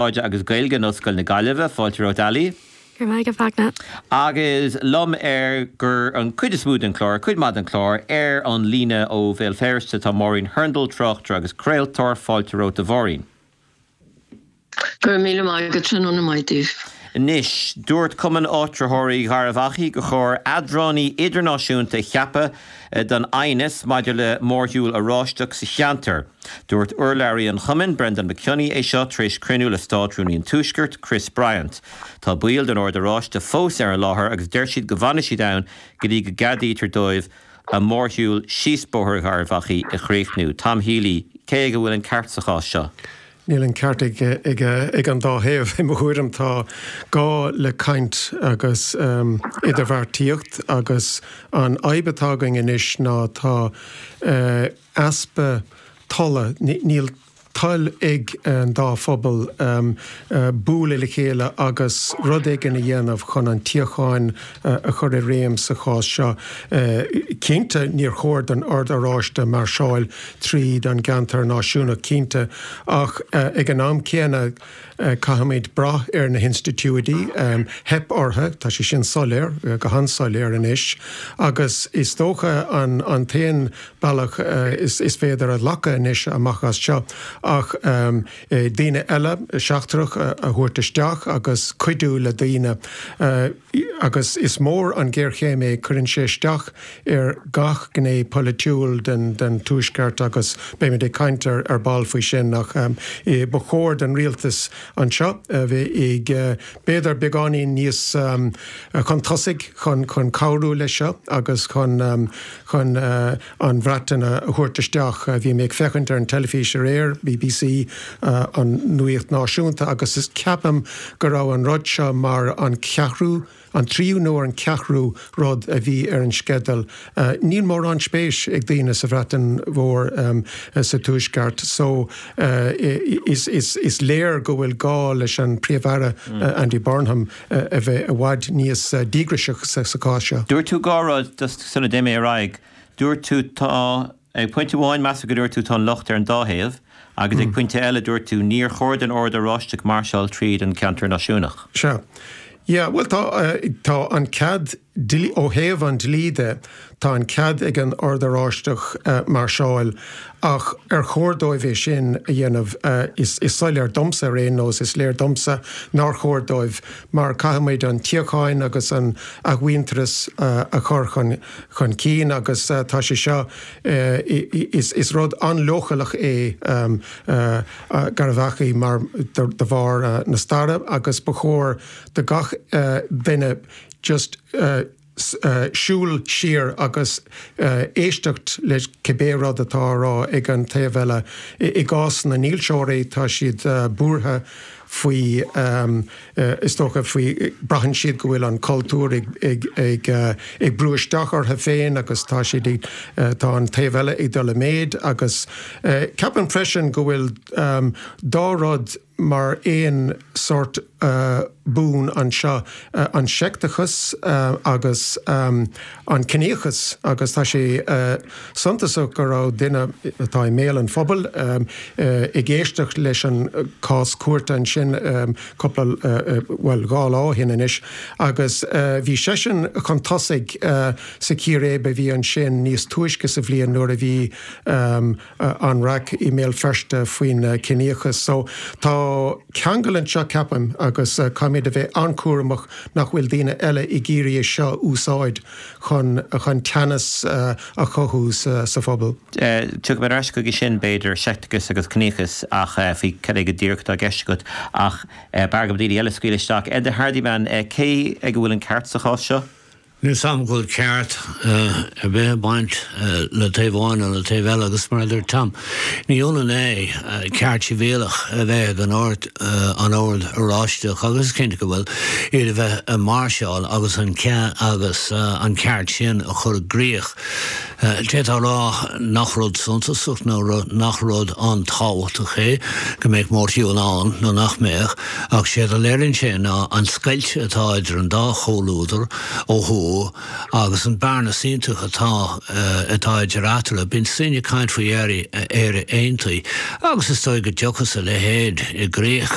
Cumarsáide agus Gaeilge in Ollscoil na Gaillimhe. Fáilte romhat Ali. Go raibh maith agat, Fachtna. Agus liom ar gur an cuid is mó den chlár, cuid maith den chlár, ar an líne ó Bhéal Feirste tá Máirín Hurndall, tráchtaire agus craoltóir. Fáilte romhat a Mháirín. Go raibh míle maith agat, tráthnóna maith daoibh. Anois, dúirt Cumann Áitritheoirí Gharbh Achaidh gur chóir eadránaí idirnáisiúnta a cheapadh don aighneas maidir le mórshiúl Oráisteach sa cheantar. Dúirt urlabhraí an chumainn, Brendan McKinney, é seo tar éis cruinniú le Státrúnaí an Tuaiscirt, Chris Bryant. Tá baill den Ord Oráiste fós ar an láthair agus deir siad go bhfanfaidh siad ann go dtí go gceadaítear dóibh a mórshiúl síos Bóthar Gharbh Achaidh a chríochnú. Tom Healy, cé aige a bhfuil an ceart sa chás seo? Níl an ceart ag an dá thaobh, i mo thuairim. Tá gá le caint agus idirbheartaíocht agus an fhadhb atá againn anois ná tá easpa tola, níl toil ag an dá phobal bualadh le chéile agus rud éigin a dhéanamh chun an tsíocháin a chur i réim sa chás seo. Cinnte, níor chóir don Ord Oráiste mairseáil tríd an gceantar náisiúnach, cinnte, ach ag an am céanna, Caithfimid brath ar na hinstitiúidí. Theip orthu, tá sé sin soiléir, go han-soiléir anois, agus is dócha an t-aon bealach is féidir a ghlacadh anois amach as seo ach daoine eile, seachtrach, a thabhairt isteach agus cuidiú le daoine. Agus is mór an ghéarchéim é, cuireann sé isteach ar gach gné polaitiúil den Tuaisceart agus beimid ag caint ar ball faoi sin ach ba chóir don rialtas anseo a bheith ag b'fhéidir beagáinín níos chun tosaigh chun cabhrú leis seo agus chun chun an Bhreatain a thabhairt isteach. Bhí mé ag féachaint ar an teilifís aréir, BBC, an nuaíocht náisiúnta agus is ceapaim go raibh an rud seo mar an ceathrú, an tríú nó an ceathrú rud a bhí ar an sceideal. Níl mórán spéis ag daoine sa Bhreatain Mhór sa Tuaisceart so is léir go bhfuil gá leis an Príomh-Aire Andy Burnham a bheith i bhfad níos díograiseach sa chás seo. Dúirt tú dhá rud just sula dté mé ar aghaidh. Dúirt tú tá, ag pointe amháin measaim go dúirt tú tá an locht ar an dá thaobh agus ag pointe eile dúirt tú níor chóir don Ord Oráisteach mairseáil tríd an ceantar náisiúnach. Sea. Yeah, bhuel tá, tá an cead dlí, ó thaobh an dlí de, tá an cead ag an Ord Oráisteach mairseáil ach ar chóir dóibh é sin a dhéanamh? Is soiléir domsa ar aon nós, is léir domsa nár chóir dóibh mar caithfimid an tsíocháin agus an athmhuintearas a chur chun chun cinn agus tá sé seo, is rud an-leochaileach é Garbh Achaidh mar de bharr na staire agus ba chóir do gach duine just siúl siar agus éisteacht le cibé rud atá á rá ag an taobh eile. I gcás na ndílseoirí tá siad buartha faoi, is dócha, faoi, braitheann siad go bhfuil an cultúr ag, ag, ag, ag brú isteach orthu féin agus tá siad ag, tá an taobh eile ag dul i méid agus ceapaim freisin go bhfuil dá rud mar aon sórt bun anseo, an seicteachas agus an ciníochas agus tá sé suntasach go raibh duine atá i mbéal an phobail ag éisteacht leis an cás cúirte ansin cúpla, bhuel dhá lá ó shin anois agus bhí seisean chun tosaigh sa chíréib a bhí ansin níos túisce sa bhliain nuair a bhí an raic i mBéal Feirste faoin ciníochas. So tá ceangal anseo ceapaim agus caithfimid a bheith an-chúramach nach bhfuil daoine eile ag iarraidh é seo a úsáid chun chun teannas a chothú sa phobal. Tiocfaidh mé ar ais chuige sin, b'fhéidir, seicteachas agus ciníochas ach faoi cad é go díreach atá i gceist agat. Ach b'fhearr go daoine eile scaoileadh isteach. Enda Hardiman, cé ag a bhfuil an ceart sa chás seo? Níl 's a'm go bhfuil ceart ar bith ag baint le taobh amháin nó le taobh eile agus mar a deir Tom, ní ionann é ceart sibhialach a bheith ag an Ord an Ord Oráisteach agus is cinnte go bhfuil, iad a bheith ag máirseáil agus an agus an ceart sin a chur i gcrích. D'fhéadfá a rá nach rud suntasach nó nach rud an-tábhachtach é go mbeadh mórshiúl ann nó nach mbeadh, ach séard a léiríonn sé ná an scoilt atá idir an dá chomhluadar ó thuaidh. mó agus an bearna iontach atá atá idir eatarthu. Bíonn daoine ag caint faoi Éire Éire Aontaithe agus is dóigh go dtiocfas a leithéid i gcrích.